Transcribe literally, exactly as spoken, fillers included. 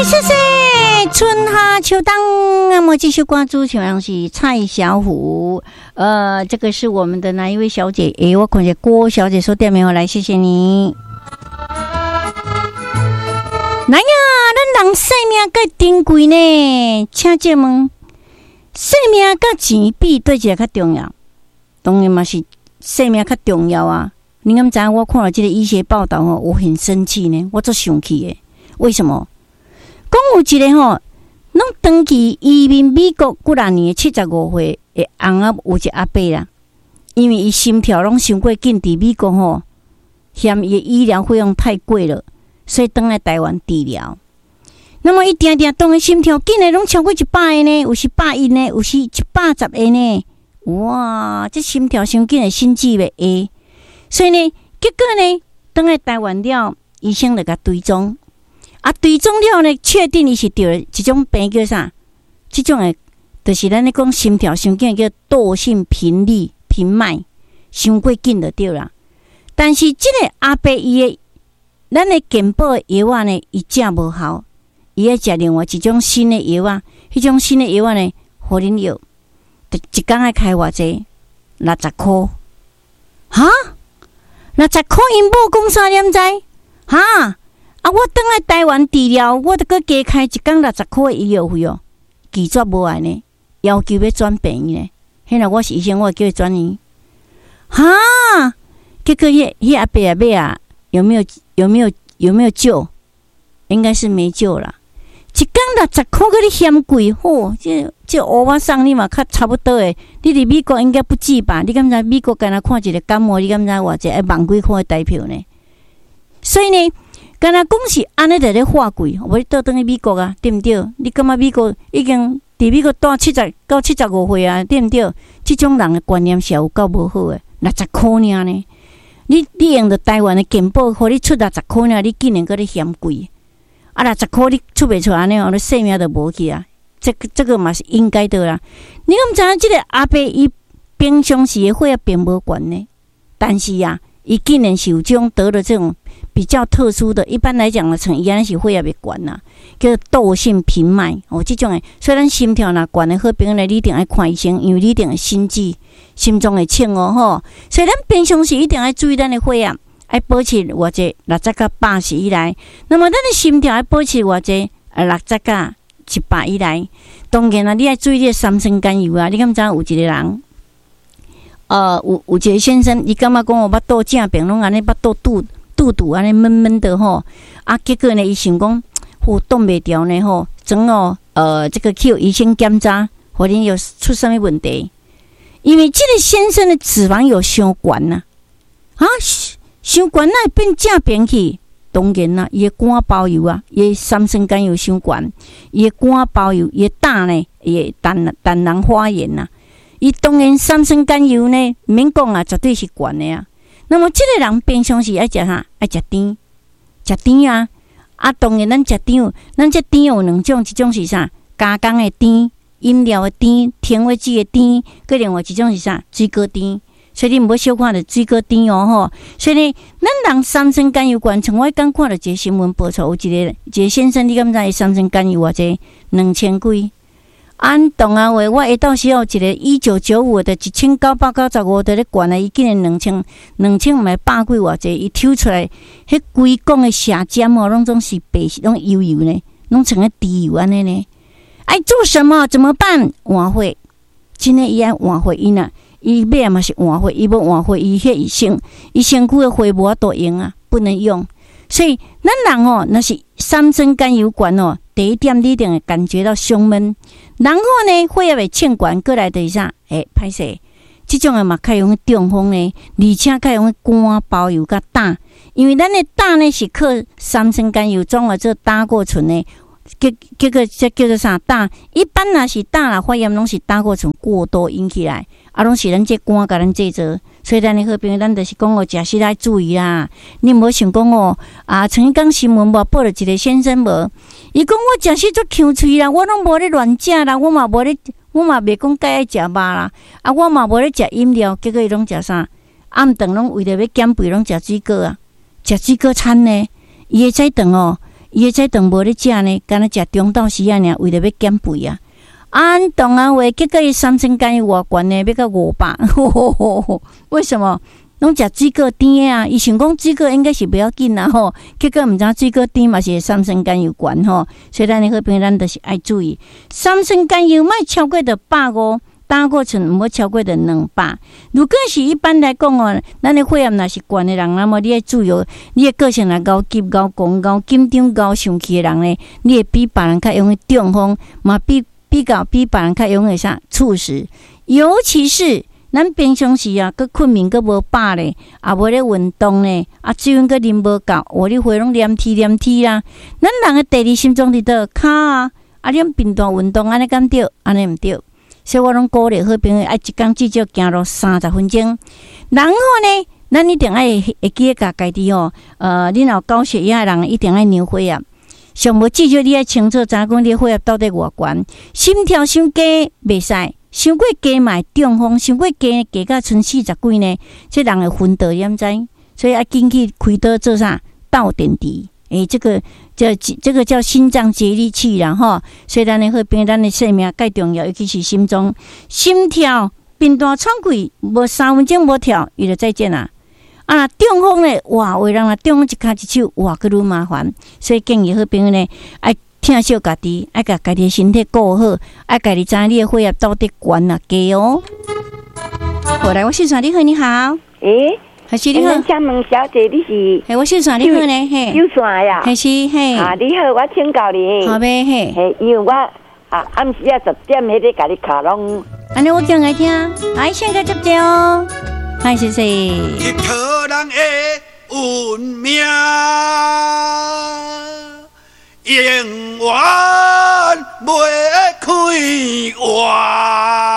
謝謝春夏秋冬。那麼這首歌主唱是蔡小虎。呃，這個是我們的哪一位小姐？誒，我看見郭小姐說點沒有來，謝謝你。來呀，咱人生命較珍貴呢，請借問，生命佮錢比佗一個較重要？當然嘛是生命較重要啊！你敢知影？我看了這個醫學報道吼，我很生氣呢，我足生氣的。為什麼？講有一個吼，攏長期移民美國幾若年，七十五歲的翁仔有一個阿伯啦，因為伊心跳攏傷過緊，佇美國吼，嫌伊的醫療費用太貴了，所以轉來台灣治療。那麼伊定定當伊心跳緊的攏超過一百个呢，有時百一呢，有時一百十個呢。哇！這心跳傷緊的心悸袂會，所以呢，結果呢，轉來台灣了，醫生就共追蹤。啊，追蹤了呢，確定伊是得了一種病叫啥？這種的，就是咱咧講心跳傷緊叫竇性頻率頻脈，傷過緊就對啦。但是這個阿伯伊的，咱的健保的藥仔呢，伊食無效，伊愛食另外一種新的藥仔，彼種新的藥仔呢，予恁藥，一工愛開偌濟？六十箍。哈？六十箍𪜶某講啥你毋知？哈？啊！我轉來台灣治療，我著閣加開一工六十箍的醫藥費哦，拒絕無愛呢，要求欲轉病院呢。彼若我是醫生，我會叫伊轉院。哈！結果彼彼阿伯啊尾啊，有沒有有沒有有沒有救？應該是沒救啦。一工六十箍，閣咧嫌貴，吼！這這烏仔送你嘛較差不多的。你佇美國應該不止吧？你敢知美國干焦看一個感冒，你敢知偌濟愛萬幾箍的台票呢？所以呢，敢若講是按呢佇咧話貴，無你倒轉去美國啊，對毋對？你感覺美國已經佇美國住七十到七十五歲啊，對毋對？這種人的觀念是有夠無好的，六十箍爾呢？你你用著台灣的健保，予你出六十箍爾，你竟然閣咧嫌貴？啊，六十箍你出袂出按呢哦，你性命就無去啊！這個這個嘛是應該的啦。你敢知影這個阿伯伊平常時的血壓並無懸呢？但是啊，伊竟然是有這種得了這種比較特殊的，一般來講呢，像伊按呢是血壓會懸啦，叫做竇性頻脈哦，這種的，所以咱心跳若懸的好朋友呢，你一定愛看醫生，因為你一定會心悸、心臟會銃哦吼。所以咱平常時一定愛注意咱的血壓，愛保持偌濟六十佮八十以內。那麼咱的心跳愛保持偌濟啊六十佮一百以內。當然啦，你愛注意你的三酸甘油啊。你敢知影有一個人？呃，有有一個先生，伊感覺講我腹肚正爿攏按呢腹肚肚肚肚按呢悶悶的吼，啊，結果呢，伊想講，吼擋袂牢呢吼，怎哦，呃，這個去予醫生檢查，發現有出啥物問題？因為這個先生的脂肪有傷懸呐，啊，傷懸哪會變正爿去？當然啦，伊的肝包油啊，伊的三酸甘油傷懸，伊的肝包油，伊的膽呢，伊的膽膽囊發炎呐。伊當然三酸甘油呢，毋免講啊，絕對是懸的啊。那麼這個人平常時愛食啥？愛食甜，食甜啊！啊，當然咱食甜，咱這甜有兩種，一種是啥？加工的甜，飲料的甜，甜味劑的甜，閣另外一種是啥？水果甜。所以你毋好小看著水果甜哦吼。所以呢，咱人三酸甘油懸，像我剛看著一個新聞報出，有一個一個先生，你敢知伊三酸甘油偌濟？兩千幾。按同學話，我下晝時候一個一九九五的，一千九百九十五佇咧懸啊，伊竟然兩千兩千毋知百幾偌濟，伊抽出來，彼規管的射尖哦，攏總是白色，攏油油呢，攏像彼豬油按呢呢。愛做什麼？怎麼辦？換血，真的伊愛換血，伊若伊尾仔嘛是換血，伊無換血，伊彼身伊身軀的血無法度用啊，不能用。所以咱人哦，若是三酸甘油懸哦，第一點你一定會感覺到胸悶，然後呢，血壓會衝懸過來就是啥？欸，歹勢，這種的嘛較容易中風呢，而且較容易肝包油佮膽，因為咱的膽呢是靠三酸甘油轉化做膽固醇的，結結果這叫做啥？膽一般若是膽若發炎，攏是膽固醇過多引起來，啊，攏是咱這肝共咱製造。所以咱的好朋友，咱就是講哦，食食愛注意啦。你毋好想講哦，啊，曾經講新聞無報著一個先生無，伊講我食食足強喙啦，我攏無咧亂食啦，我嘛無咧，我嘛袂講介愛食肉啦，啊，我嘛無咧食飲料，結果伊攏食啥？暗頓攏為著欲減肥，攏食水果啊，食水果餐呢？伊會使頓哦，伊的早頓無咧食呢，敢若食中晝時仔爾，為著欲減肥啊。按同樣話，結果伊三酸甘油偌懸呢，欲到五百。為什麼？攏食水果甜的啊！伊想講水果應該是袂要緊啦吼，結果毋知水果甜嘛是會三酸甘油懸吼。所以咱的好朋友，咱就是愛注意三酸甘油莫超過著百五，膽固醇毋好超過著兩百。如果是一般來講哦，咱的血壓若是懸的人，那麼你愛注意哦，你的個性若𠢕急、𠢕狂、𠢕緊張、𠢕生氣的人呢，你會比別人較容易中風，嘛比比較比別人較容易啥猝死，尤其是咱平常時啊，閣睏眠閣無飽咧，也無咧運動咧，啊水分閣啉無夠，哇！你血攏黏黐黏黐啦。咱人的第二心臟佇佗跤啊，啊你頻繁運動按呢敢對？按呢毋對。所以我攏鼓勵好朋友愛一工至少行路三十分鐘。然後呢，咱一定愛會記得共家己吼，呃，你若有高血壓的人一定愛量血壓。上無至少你愛清楚知影講你血壓到底偌懸，心跳傷低袂使。傷過低嘛會中風，傷過低低甲賰四十幾呢，這人會昏倒，你毋知？所以愛緊去開刀做啥？倒電池，欸，這個這這個叫心臟接力器啦吼。所以咱的好朋友，咱的生命蓋重要，尤其是心臟、心跳頻大喘氣，無三分鐘無跳，伊就再見啦。啊，中風咧，哇，有的人若中風一跤一手，哇，閣愈麻煩。所以建議好朋友呢，愛疼惜家己，愛共家己的身體顧好，愛家己知影你的血壓到底懸抑低哦。好，來，我線上你好，你好。欸，還是你好。請問小姐，你是？嘿，我線上你好呢，嘿。有線呀？還是嘿。啊，你好，我請教你。好唄，嘿。嘿，因為我啊暗時啊十點彼个共你敲攏。按呢我講來聽，來，現在接接哦。來，謝謝。日可人的運命。永遠袂